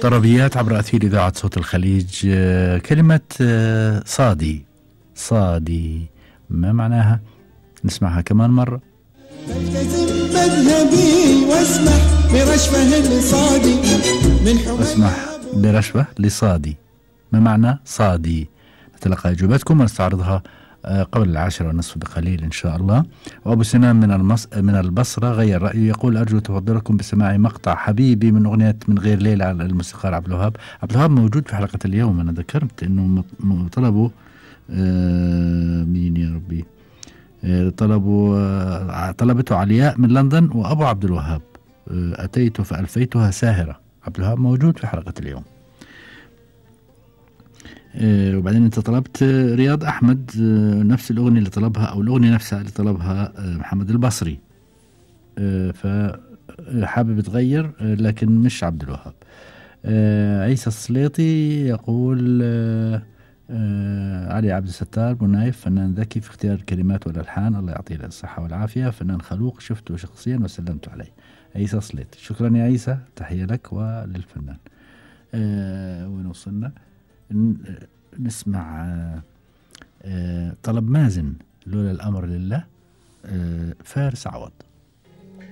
طربيات عبر أثير إذاعة صوت الخليج. كلمة صادي. صادي ما معناها؟ نسمعها كمان مرة. التزم مذهبي واسمح برشفه لصادي من اسمح برشفة لصادي، ما معنى صادي؟ نتلقى إجابتكم ونستعرضها قبل 10:30 بقليل إن شاء الله. وأبو سنان من البصرة غير رأيه، يقول أرجو تفضلكم بسماع مقطع حبيبي من أغنية من غير ليلة على الموسيقار عبد الوهاب. عبد الوهاب موجود في حلقة اليوم، أنا ذكرت إنه طلبوا مين يا ربي، طلبته علياء من لندن وأبو عبد الوهاب. أتيت فألفيتها ساهرة. عبد الوهاب موجود في حلقة اليوم. وبعدين أنت طلبت رياض أحمد، نفس الأغنية اللي طلبها أو الأغنية نفسها اللي طلبها محمد البصري، فحابب تغير لكن مش عبد الوهاب. عيسى السليطي يقول علي عبد الستار بنايف فنان ذكي في اختيار الكلمات والألحان، الله يعطيه الصحة والعافية، فنان خلوق شفته شخصيا وسلمت عليه. عيسى السليطي، شكرا يا عيسى، تحية لك وللفنان. وين وصلنا؟ نسمع طلب مازن لولا الأمر لله، فارس عوض.